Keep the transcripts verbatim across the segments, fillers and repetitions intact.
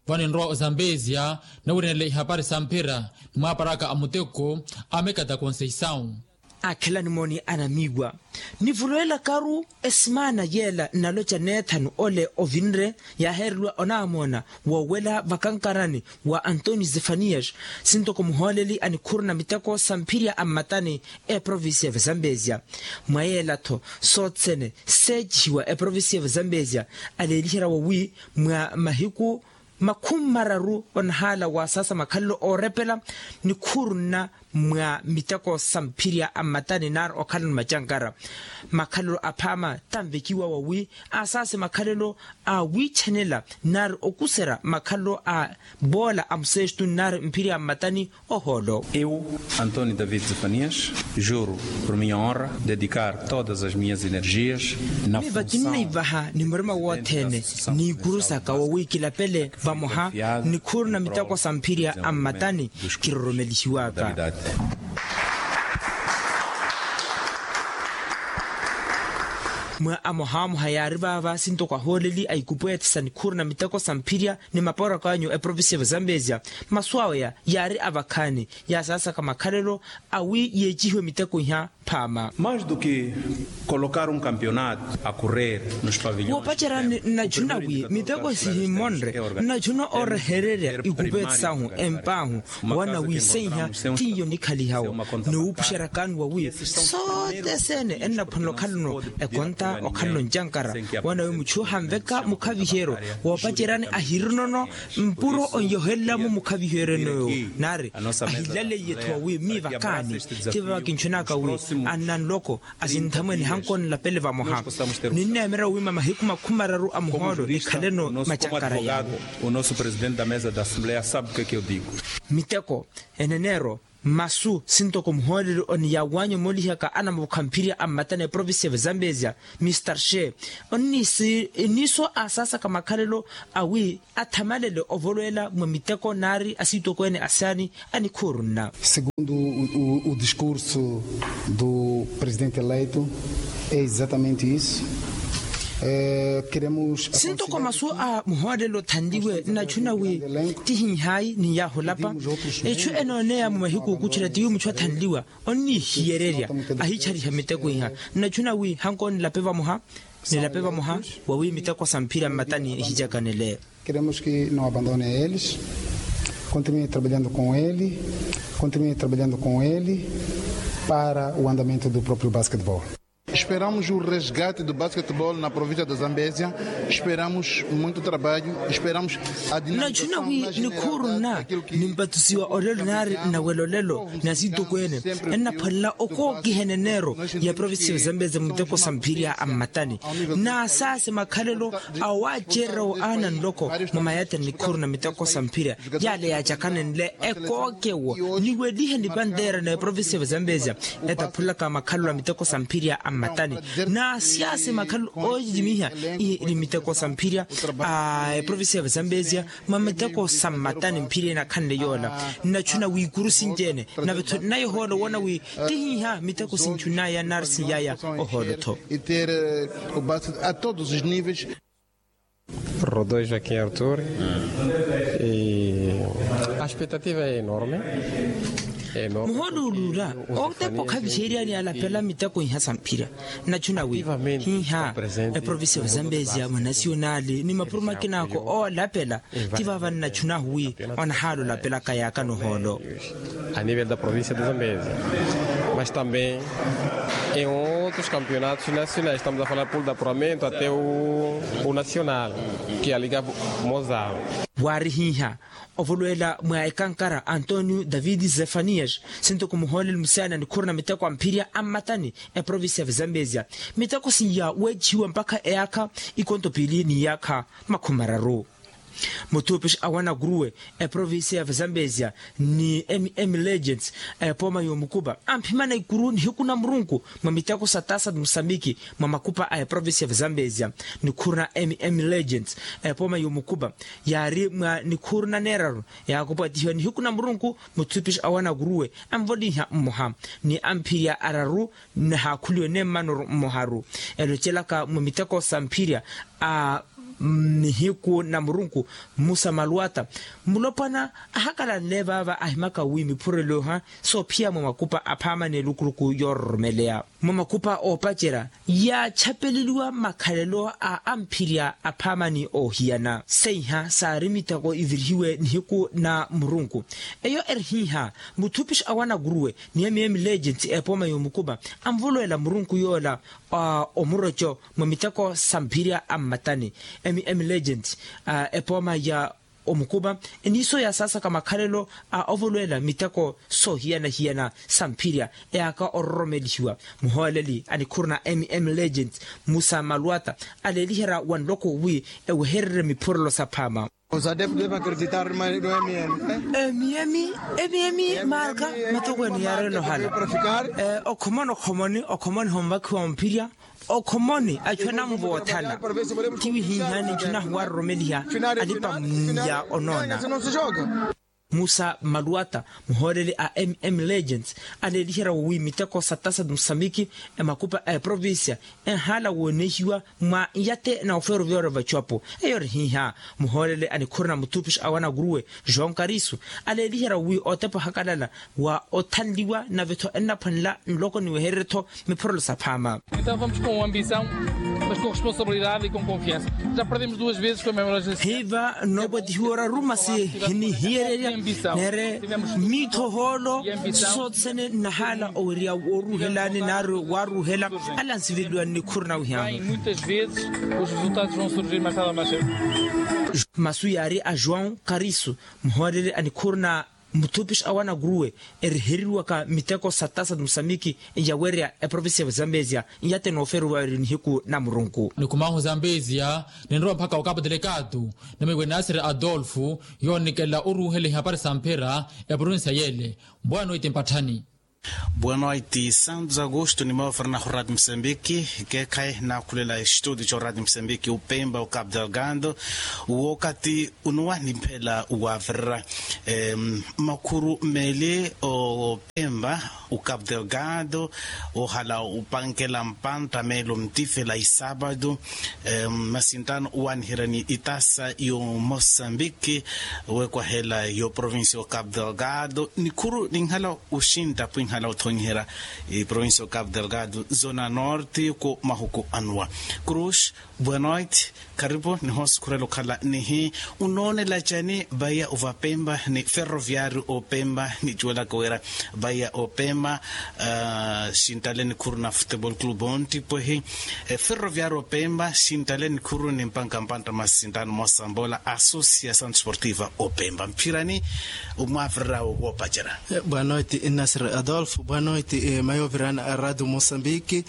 Vano enrowa ozambezia, nawiranela ihapari sa mphira ni mwaparaka a muteko a mekata conceição. Akhela nimooni anamiiwa, nivuluwelakaru esimaana yeela nnaloca neethanu ole ovinre yaaheereliwa onaamoona woowela vakankarani wa antonio zefanias, sintoko muhooleli a nikhuru na miteko sa mphirya a mmatani, eprovincia ya vazambezia. Mwa yeela-tho soothene seecihiwa eprovincia ya vazambezia, aleeliherya wowi mwa mahiku makhumi mararu onahaala wa saasa makhalelo oorepela nikhuru nna mwa miteko sa mphirya a mmatani naari okhalano macankara. Makhalelo aphaama tanvekiwa wowi asaase makhalelo a wiichanela naari okuserya makhalelo a boola a musestu naari mphirya a mmatani ohoolo. Eu, antonio david zefanias, juro por minha honra dedicar todas as minhas energias na miva kinnaivaha ni murima wothene ni ikuru saka wowi kilapele vamoha nikhuru na miteko sa mphirya a mmatani kiroromelihiwaka. Mwa amohamoha yaari vaava sintoko ahooleli a ikupweethe sa nikhuru na miteko sa mphirya ni maporakaanyu eprovincia ya vazambezia, masu aweya yaari avakhaani yaasaasaka makhalelo awi yeecihiwe miteko iha phaama. Mais do que colocar um campeonato a correr nos pavilhões, woopacerya nnachuna wi miteko sihimmonre nnachuna oorehererya ikupeeti sahu empaahu wana wi seiha tiiyo nikhalihawo. Ni wuupuxeryakaani wawi sothene ennaphwanela okhalano ekonta okhalano ncankara wana wi muchu ohanveka mukhaviheryo woopaceryani ahirinono mpuro onyohelelamo mukhaviheryo enoyo naari ahilaleiye-tho wawi miivakaani. Ti vava kinchunaka wi anna nloko asinthamwe nihankooni lapele vamoha ninneemerya wiima mahiku makhumi mararu a muhoolo nikhaleno macankara yaani. O nosso presidente da mesa da assembleia sabe o que é que eu digo. Miteko eneneero masu sintoko muhooleli oniyaawanyu moolihaka anamupukha mphirya a mmatani eprovincia ya vazambezia mr she onniiso asaasaka makhalelo awi athamalele ovolweela mwa miteko naari asiitokweene asaani a nikhuuru nna. Segundo o discurso do presidente eleito é exatamente isso. Sintoko masu a muhoolelo othanliwe nnachuna wi tihihaayi ni yaahulapa echu enooneya mu mahiku okuchela tiwi muchu athanliwa onniihiyererya ahichaliha miteko iha. Nnachuna wi hankoonilape vamoha nilape vamoha wawi miteko sa mphirya mmatani ehicakanele. Queremos que não abandone a eles, continue trabalhando com ele, continue trabalhando com ele para o andamento do próprio basquetebol. Esperamos o resgate do basquetebol na província da zambezia. Esperamos muito trabalho. Esperamos a dinamização na generalidade daquilo que nimpatusiwa olelo naari nawelolelo na sitokweene ennaphwanela okookiha eneneero ya província ya zambezia muteko sa mphirya a mmatani. Naasaase makhalelo awaacererya wo aana nloko mwa mayata ni nikhuru na miteko sa mphirya yaale yaacakanenle ekookewo niwelihe ni panteera na eprovincia ya vazambezia etaphulaka makhalelo a miteko sa mphirya a mmatani. Naasaase makhalelo oocicimiha ihi ni miteko sa mphirya a eprovincia ya vazambezia mwa miteko sa mmatani mphirya enakhanle yoola. Nnachuna wi ikuru sinci-ene nave-tho nnayohoolo woona wi tihiha miteko sinchunaya nari siyaya ohoolo-tho. Rodoi joaquim artur. Aspetativa é enorme. Muhooluuluula otepa okhaviherya ni alapela miteko iha sa mphirya. Nnachuna wi hiha eprovincia ya vazambezia mwa nasionali ni mapuro makinako oolapela ti vava nnachunahu wi onahaala olapelaka yaaka nohoolo. A nível da província da zambezia mas também em outros campeonatos nacionais estamos a falar pul da puramento até o nacional, que a liga mozal. Waari hiha ovolweela mwa ekankara antonio david zefanias sintoko muhooleli musiyani a nikhuru na miteko a mphirya a mmatani eprovincia ya vazambezia miteko siya weecihiwa mpakha eyaakha ikonto piili ni iyaakha makhumi mararu. Muthupishi awana kuruwe eprovincia ya vazambezia ni mm legends a epooma y'omukupa amphimana ikuru nihiku na murunku mwa miteko sa tasa musambiki mwa makupa a eprovincia ya vazambezia. Nikhuru na mm legends a epooma y'omukupa yaari mwa nikhuru na neeraru yaakupwatihiwa nihiku na murunku. Muthupishi awana kuruwe anvoliha mmoha ni amphirya araru nahaakhuliwe nemmanoru mmoharu elocelaka mwa miteko sa mphirya a Nihiku na murunku, musa maluwata mulopwana ahakalanle vaava ahimaka wi miphurelo iha soophiya mwa makupa aphaama n'elukuruku yoororomeleya mwa makupa oopacerya yaachapeleliwa makhalelo a amphirya aphaama ni oohiyana seiha saari miteko ivirihiwe nihiku na murunku. Eyo eri hiiha muthupishi awo anakuruwe ni mm legent epooma y'omukupa anvoloela murunku yoola a omuroco mwa miteko sa mphirya a mmatani. Mm legent a epooma ya omukupa eniiso yaasaasaka makhalelo a ovolweela miteko soohiyana-hiyana sa mphirya eyaaka ororomelihiwa. Muhooleli a nikhuru na mm legent musa maluwata aleeliherya wa nloko wi ewehererye miphurelo saphaama. Emiyemi emiyemi marka matokweene yaareela ohala okhomoni okhomoni okhomoni homvakhiwa mphirya okhomoni achu anamuvoothana. Tiwihihani nchu nahu waaroromeliha alipa mmunya onoona. Musa maluwata muhooleli a mm legends aleeliherya wi miteko sa tasa musamiki emakupa a eprovincia enhaala woonehiwa mwa nyate na ofeeroviya ori vachuwapo. Eyo ori hiiha muhooleli a nikhuru na muthupishi awo anakuruwe joão karisu aleeliherya wi otepa ohakalala wa othanliwa nave-tho ennaphwanela nloko niwehererye-tho miphorolo saphaama. Então vamos com ambição mas com responsabilidade e com confiança. Já perdemos duas vezes com a memória. Hiiva noopwetihiwa oraru masi hinihiyererya neere miitho hoolo sothene nnahaala owerya wooruhelani naari waaruhela alansiveleliwa nnikhuru na wihamu. Muitas vezes os resultados vão surgir mais tarde ou mais cedo. Masu yaari a joão karisu muhooleli a nikhuru na muthupishi awo anakuruwe eriheriwaka miteko sa tasa musamiki nyawerya eprovincia ya zambezia nyate noofeeruwa eri nihiku na murunku. Nikumahu zambezia ninrowa mpakha okapu delegatu nimiwe nasiri adolfu yoonikela oruhela ihapari sa mphira eprovincia yele. Bwano iti mpatthani. Bwano iti santos agosto ni mawavirana ho radio mosambiki keekhayi naakhulela estudio co radio mosambiki opemba okapu delgado. Wookati unuwa nimphela waavirira makhuru meeli opemba okapu delgado ohala opankela mpantta meelo mtifela isaapatu. Masintano owaaniherya ni itasa y'omosambiki wekwahela y'oprovincia okapu delgado nikhuru ninhala oxintta pwinhala othonyiherya eprovincia okapu delgado zona norte ko mahuku anuwa. Cruz, boa noite. Karipu nihoosukhurela okhala nihi unoonela cani vaiya ovapempa ni ferroviario opempa nicuwelaka wira vaiya opempa xintale nikhuru na futebol club ontipwehi. Ferroviario opempa xintale nikhuru ni mpanka mpantta masintano moosambola associação desportiva opempa mphirani omwavirirawo woopacerya. Boa noite nasir adolfo boa noite mayovirana a radio mosambiki.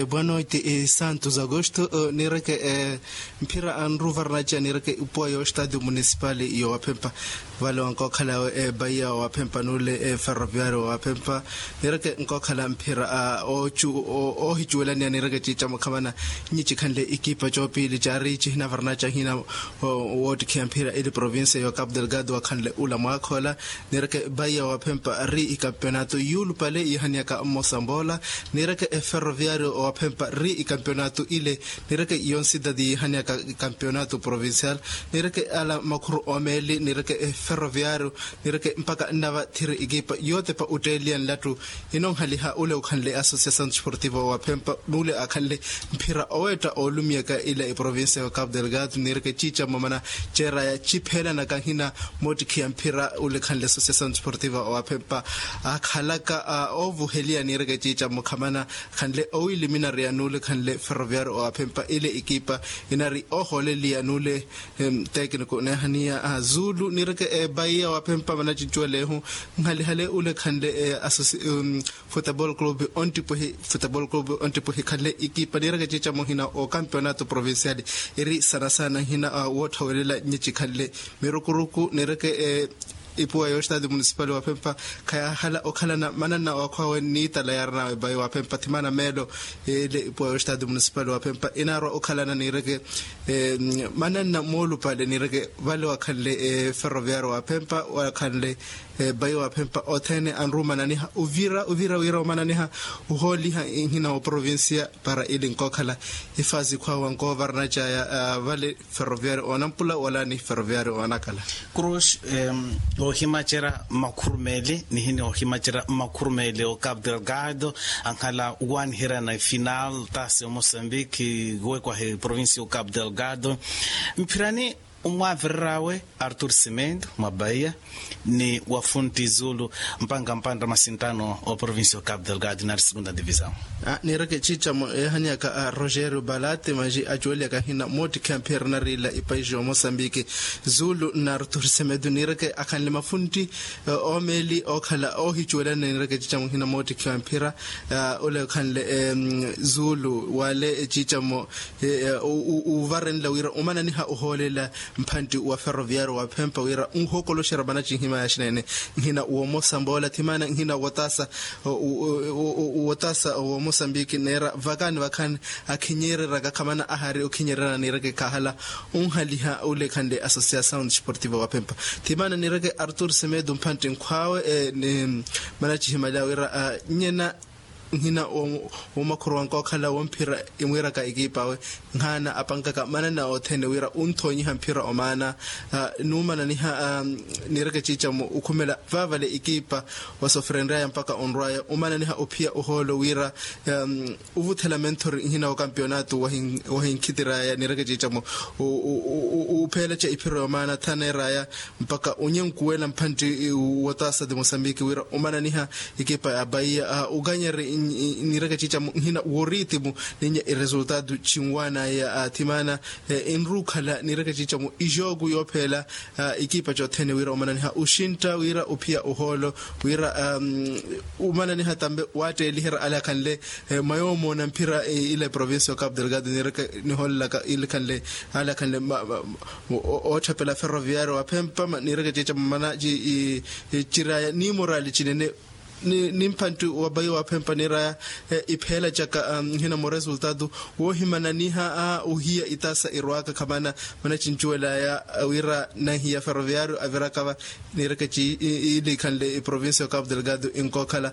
Boa noite santos agosto nireke mphira anruvarnaca nireke ipuwa yo stadio municipal yo waphempa vale wankookhala ebaiya waphempa nule ferroviario waphempa nireke nkookhala mphira oohicuwelaniya nireke ciica mukhamana nyi cikhanle ikipa coopili caari cihinavarnaca hina wootikhiya mphira ili provincia yo capu delgado wakhanle ula mwaakhola. Nireke vaiya waphempa ri ikampeonato yuulupale yiihaniyaka mmosa mboola nireke eferroviario waphempa ri ikampeonato ile nireke yonsitati yiihaniyaka ikampeonato provincial nireke ala makhuru omeeli nireke eferroviario nireke mpaka nnava thiri ekipa yootepa otteeliya nlattu. Inonhaliha ule okhanle associação desportiva waphempa n'ule akhanle mphira oweetta oolumiyaka ila eprovincia ya capu delgado nireke ciica mmamana ceeraya cipheelanaka nhina moottikhiya mphira ule khanle associação desportiva waphempa akhalaka oovuheliya nireke ciica mmukhamana khanle owiiliminariya n'ule khanle ferroviario waphempa ile ekipa inari oohooleliya n'ule. Tekniko neehaniya zulu nireke ebaiya waphempa manacincuwelehu. Nhalihale ule khanle associação futebol club ontipwehi futebol club ontipwehi khanle ekipa nireke ciica muhina okampeonato provincial iri sanasana nhina wootthawelela nyici khanle mirukuruku nireke ipuwa yo stadio municipal waphempa khayahala okhalana mananna wakhwawe niitala yaarinawe bayi waphempa thimana meelo. Ile ipuwa yo stadio municipal waphempa inaarwa okhalana nireke mananna moolupale nireke vale wakhanle ferroviario waphempa wakhanle Bayi waphempa othene anrumananiha uvira uvira wira omananiha uhooliha nhina wa provincia para ili nkokhala ifazi khwawa nkovarnacaya vale ferroviario onampula wala ni ferroviario onakhala. Cruz. Oohimacerya makhurumeli nihini oohimacerya makhurumeli o capo delgado ankhala wanihirana final tasi o moçambique wekwahi provincia o capo delgado mphirani omwavireryawe artur cimento mwa bahia ni wafunti zulu mpanga mpantta masintano o provincia o capo delgado nari segunda divisão. Nireke ciicamo eehanyaka a rogerio balate manji acuweliyaka hina mootikhiya mphira nariila ipaixi omosambiki zulu nari tursemedu nireke akhanle mafuntti omeeli ookhala oohicuwelana nireke ciicamo hina mootikhiya mphira ole okhanle zulu wale ciicamo uvarenla wira omananiha ohoolela mphantti wa ferroviario wa phempa wira onhookoloxerya manacinhima yaxinene nhina womosa mboola thimana nhina wotasa wotasa womosambiki neera vakani vakhani akhinyeereraka khamana ahari okhinyeererana niireke khahala onhaliha ole khanle associação desportiva wa phempa thimana niireke artur semedo mphantti nkhwaawe manacihimali awe wira nyena nhina womakhuru wanka okhala womphira imwiiraka ekiipa awe nhaana apankaka manana othene wira onthoonyiha mphira omaana nuumananiha niireke ciicamo okhumela vaavale ekiipa wasoferenryaya mpaka onrwaya omananiha ophiya ohoolo wira ovuthela menthori nhina wa kampionato wahinkhitiraya niireke ciicamo opheelaca iphiro yomaana thaneeraya mpaka onyenkuwela mphantti wotasa de mosambiki wira omananiha ekipa ya bahia okanyari niireke ciicamo nhina woritimu ninya iresultado cinwaanaya thimana enrukhala niireke ciicamo ixooku yoopheela ekipa cothene wira omananiha oxintta wira ophiya ohoolo wira omananiha tambe waatteeliherya ale akhanle mwa yoomoona mphira ile provincia o capo delgado niireke nihoolelaka ile khanle ale akhanle ootthapela ferroviario wa phempa niireke ciicamo mana ciraya ni morali cinene ni mphantti wa bayi wa phempa niiraya ipheelacaka nhina moresultado woohimananiha ohiya itasa irwaaka khamana mana cincuwelaya wira nahiya ferroviario avirakava niireke ciili khanle iprovincia o capo delgado inkookhala